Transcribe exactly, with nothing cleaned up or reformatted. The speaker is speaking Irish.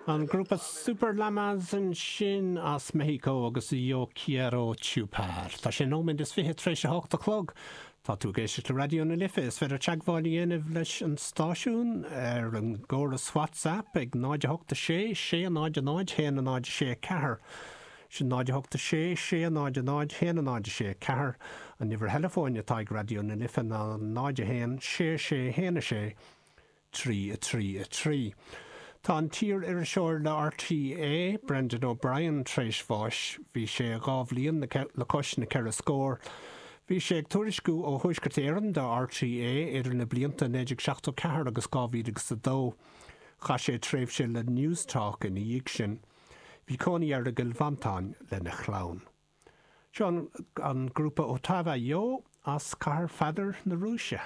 An grúpa Super Llamas ansin as Meicsiceo agus Yo Quiero Chupar. Tá sé nóiméad is fiche tar éis a hocht a chlog. Tá tú ag éisteacht le Raidió na Life is féidir teagmháil a dhéanamh leis an stáisiún ar an gcóras WhatsApp ag náid a hocht a sé sé náid náid haon náid sé ceathair. Sin náid hocht sé sé náid náid haon náid sé ceathair an uimhir theileafóin atá ag Raidió na Life ná náid a haon sé sé haon sé trí a trí a trí. Tá an t-iar-iriseoir le RTÉ Brendan O'Brien tar éis bháis, bhí sé dhá bhliain le cois na ceithre scór. Bhí sé ag tuairisciú ó Thuaisceart Éireann do RTÉ idir na blianta naoi déag seachtó ceathair agus dhá mhíle agus a dó. Chaith sé tréimhse le Newstalk ina dhiaidh sin. Bhí cónaí air i gCill Mhantáin lena chlann. Seo an grúpa Otava Yo as Cathair Pheadair na Rúise.